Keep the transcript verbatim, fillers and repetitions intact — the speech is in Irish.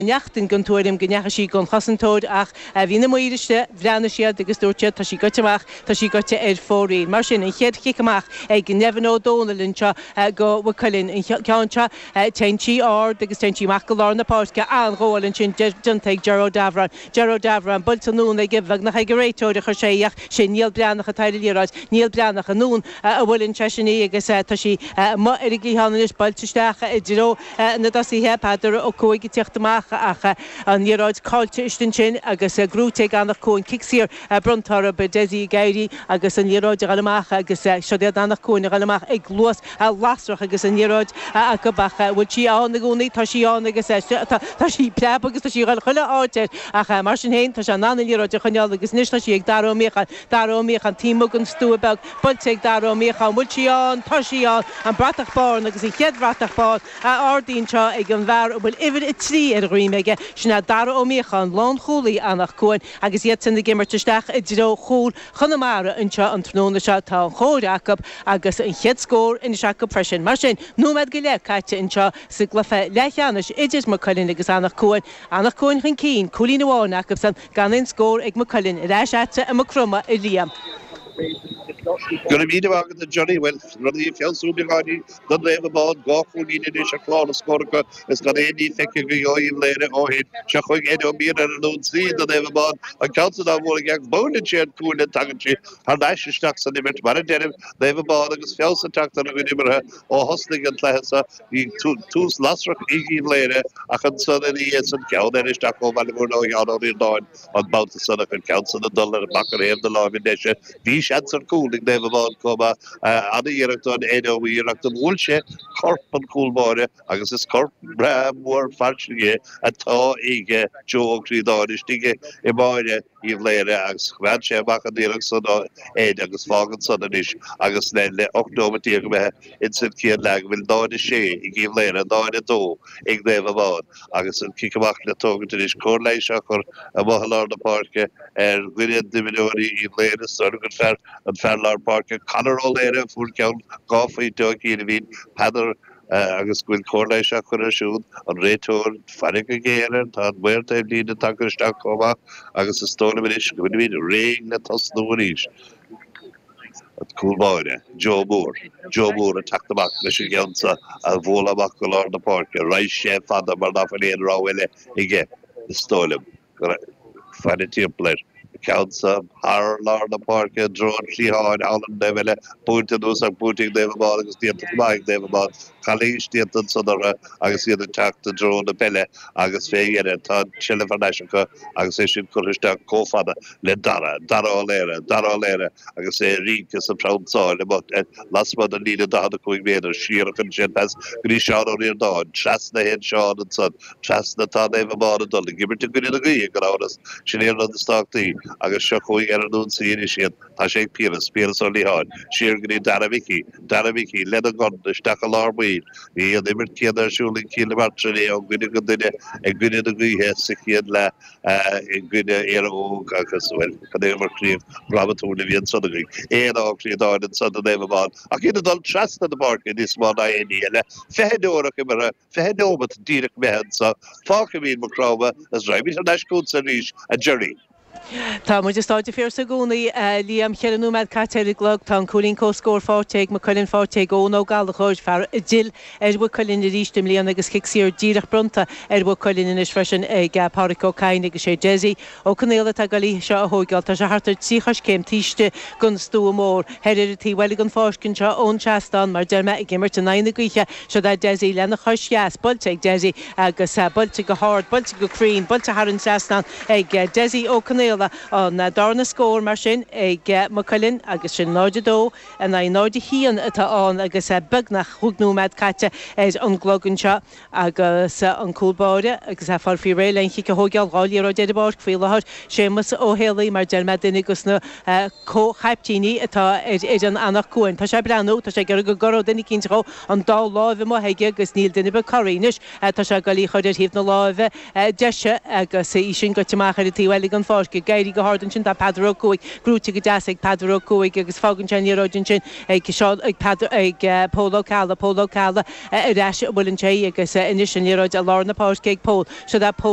Neachtain den tuairim go ndeachaigh sí don chosantóir ach bhí na maoir istigh, bhreathnaigh siad agus dúirt siad tá sí goite amach, tá sí goite ar fóraoil. Mar sin, an chéad chic amach ag Nevin Ó Dónaill anseo do Mhaigh Cuilinn. An ceann seo, téann sí ard agus téann sí amach go lár na páirce, an-ghabháil ansin déanta ag Ger O'Davoren. Ger O'Davoren, buailte anonn aige, beagnach ag an réiteoir a chuir sé í ach sé Niall Breathnach atá ar an liathróid. Niall Breathnach anonn a bhuaileann seisean í agus tá sí amuigh ar an gcliathán anois, buailte isteach i dtreo na dtosaithe, Peadar Ó Cuaig ag tíocht amach ach an liathróid caillte istigh ansin agus gnóite ag Anach Cuain. Cic saor bronnta orthu, Dessie ag éirí agus an liathróid a dhul amach agus siod iad Anach Cuain a dhul amach ag luas lasrach agus an liathróid acu ach bhfuil sí ann i gcónaí? Tá sí ann agus tá sí ag preabadh agus tá sí ag dhul chuile áit air ach mar sin féin tá sé in ann an liathróid a choinneáil agus anois tá sí ag Dara Ó Míocháin. Dara Ó Míocháin taobh amuigh den stua beag buailte ag Dara Ó Míocháin. Bhfuil sí ann? Tá sí ann! An bratach bán agus an chéad bhratach bán á ardú anseo ag an bhfear a bhfuil uimhir a trí ar a dhroim aige, sin é Dara Ó Míocháin, lánchúlaí Anach Cuain, agus iadsan ag imirt isteach i dtreo chúl Chonamara anseo an tráthnóna seo. Tá an chóir acu agus an chéad scór anois acu freisin. Mar sin, nóiméad go leith caite anseo sa gcluiche leathcheannais idir Maigh Cuilinn agus Anach Cuain. Anach Cuain chun cinn, cúilín amháin acusan, gan aon scór ag Maigh Cuilinn. Ar ais agatsa i Maigh Chromtha, a Liam. Go raibh míle maith agat a Johnny. Bhuel, rudaí ag feabhsú beagáinín do Naomh Abán, dhá chúilín anois ar chlár na scór acu is gan aon ní feicthe go Uíbh Laoghaire ó shin. Seo chugainn Eddie Ó Mianáin ar an ionsaí do Naomh Abán, an ceann san á bhualadh aige ach buaileann sé an cuaille tagann sí thar n-ais isteach san imirt. Mar a deirim, Naomh Abán agus feabhas ag teacht ar a gcuid imeartha ó thosnaigh an cluiche seo. Bhí tús lasrach ag Uíbh Laoghaire ach ansan ina dhiaidh san ceann eile isteach ó Bhaile Mhúirne ó Sheán Ó Ríordáin an babhta san ach an ceann san ag dul amach ar thaobh na láimhe deise. Bhí seans ar chúl ag Naomh Abán chomh maith. An-iarracht ón Eddie Ó Mianáin ach do bhuail sé corp an chúl báire agus is corp breá mór fairsing é atá ag Joe Ó Críodáin istigh i mbáire Uíbh Laoghaire agus choimeád sé amach an iarracht san ó Ed agus fágann san anois agus le le ocht nóimeat déag imithe ins an chéad leath go bhfuil náid a sé ag Uíbh Laoghaire, náid a dó ag Naomh Abán agus an cic amach le tógaint anois. Cóir leighis á chur amuigh i lár na páirce ar dhuine d'imreoirí Uíbh Laoghaire, is dóigh liom gur fear an fear lár páirce Conor Ó Laoire a fuair ceann dhá phointe ó chian a bhí Peadar agus go bhfuil cóir leighis á chur air siúd, an réiteoir, faire go géar air, tá an maor taobh líne tagtha isteach chomh maith agus is dóigh liom anois go bhfuilimid réidh le tosnú arís. An cúl báire, Joe Moore, Joe Moore ag teacht amach leis an gceann seo a bhualadh amach go lár na páirce, raghaidh sé fada mar ná fuil aon rogha eile aige, is dóigh liom. Faire timpeall air. An ceann seo thar lár na páirce i dtreo an chliatháin thall an taobh eile, buailte anuas ach buaite ag Naomh Abán agus déanta go maith ag Naomh Abán. Calaois déanta ansan orthu agus iad ag teacht i dtreo na peile agus fé dheireadh tá an tseilbh thar n-ais acu agus é sin curtha isteach chomh fada le Dara, Dara Ó Laoire, Dara Ó Laoire agus é ag rince is ag pramsáil amuigh lasmuigh den líne daichead a cúig méadar. Siar a chuireann sé an pas go dtí Seán Ó Ríordáin. Trasna a théann Seán ansan. Trasna atá Naomh Abán ag dul, ag imirt i gcoinne na gaoithe, gan amhras. Sin é an rud is tábhachtaí. Agus seo chugainn ar an ionsaí anois iad. Tá sé ag Piaras, Piaras Ó Liatháin, siar go dtí Dara Mhicí, Dara Mhicí lena ghun isteach i lár baill. Bhí an imirt chéanna ar siúl ag Cill na Martra inné ó dhuine go duine i gcoinne na gaoithe sa chéad leath i gcoinne Éire Óg agus, bhuel, cad é mar chraobh dhrámatúil a bhí ansan againn. Éanna Ó Críodáin ansan do Naomh Abán ach iad ag dul trasna na páirce níos mó ná aon ní eile. Fiche neomat imeartha. Fiche nóimeat díreach imithe anso. Fágfaimid Maigh Chromtha is raghaimid thar n-ais chugatsa arís, a Gerry. Tá muid i Stáid an Phiarsaigh i gcónaí, a Liam. Ceithre nóiméad caite ar an gclog. Tá an cúilín comhscóir faighte ag Maigh Cuilinn, faighte ag Eoin Ó Gallchóir, fear a d'fhill ar Mhaigh Cuilinn arís i mbliana agus cic saor díreach bronnta ar Mhaigh Cuilinn anois freisin ag Pádhraic Ó Cadhain agus sé Dessie Ó Conaola atá ag goil í seo a thóigeáil. Tá sé thart ar trí choiscéim taobh istigh den stua mór. Thoir ar an taobh eile den pháirc anseo ón seastán, mar deir mé, ag imirt in aghaidh na gaoithe. Siod é Dessie lena chois dheas, buailte ag Dessie agus buailte go hard, buailte go cruinn, buailte thar an trasnán ag Dessie Ó Conaola. An darna scór mar sin ag Maigh Cuilinn agus sin náid a dó in aghaidh náid a haon atá ann agus beagnach chúig nóiméad caite ar an gclog anseo. Agus an cúl báire agus é ag fáil faoi réir len chic a thóigeáil, dhá liathróid ar an bpáirc faoi láthair, Séamus Ó Héalaí, mar deir mé, duine dos na comh-chaiptíní atá ar fhoireann Anach Cuain. Tá sé ag breathnú, tá sé ag iarraidh go gcorródh duine eicínt dhó, an dá láimh amuigh aige agus níl duine ar bith corraithe. Anois tá sé ag goil í chur ar thaobh na láimhe deise agus í sin goite amach ar an taobh eile den pháirc. páirce ag éirí go hard ansin tá Peadar Ó Cuaig gnóite go deas ag Peadar Ó Cuaig agus fágann sé an liathróid ansin ag Seán ag Peadar ag Pól Ó Ceallaigh Pól Ó Ceallaigh ar ais a bhfuil sé agus anois an liathróid i lár na páirce ag Pól so that Pól